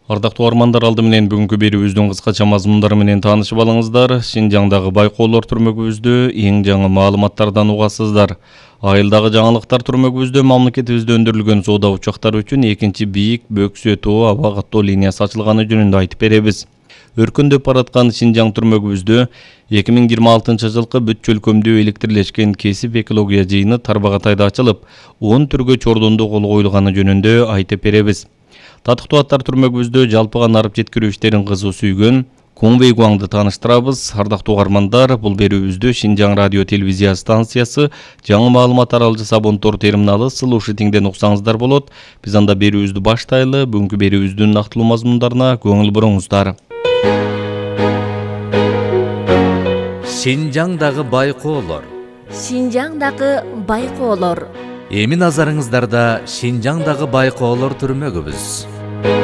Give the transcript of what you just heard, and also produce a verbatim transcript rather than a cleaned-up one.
Ардактуу армандар, алды менен бүгүнкү берүүбүздүн кыскача мазмундары менен таанышып алыңыздар. Шинжаңдагы байкоолор түрмөгүбүздү эң жаңы маалыматтардан угасыздар. Айылдагы жаңылыктар түрмөгүбүздө мамлекетибизде өндүрүлгөн соода учактары үчүн экинчи бийик бөксө тоо аба каттоо линиясы ачылганы жөнүндө айтып беребиз. Өркүндөп бараткан Шинжаң түрмөгүбүздө эки миң жыйырма алтынчы жылкы бүт чөлкөмдүү электрлешкен кесип экология жыйыны Тарбагатайда ачылып, он түргө чордондо кол коюлганы жөнүндө айтып беребиз. Татыктуу аттар түрмөгүбүздө жалпыга нарып жеткирүү иштерин кызуу сүйгөн Кунвей Гуаңды тааныштырабыз. Ардактуу армандар, бул берүүбүздө Шинжаң радио телевизия станциясы жаңы маалымат таралжы Сабонтор терминалы слушатиңден уксаңыздар болот. Биз анда берүүбүздү баштайлы. Бүгүнкү берүүбүздүн нактылуу мазмундарына көңүл буруңуздар. Шинжаңдагы байкоолор. Шинжаңдагы байкоолор. Эми назарыңыздарда Шинжаңдагы байкоолор түрмөгүбүз.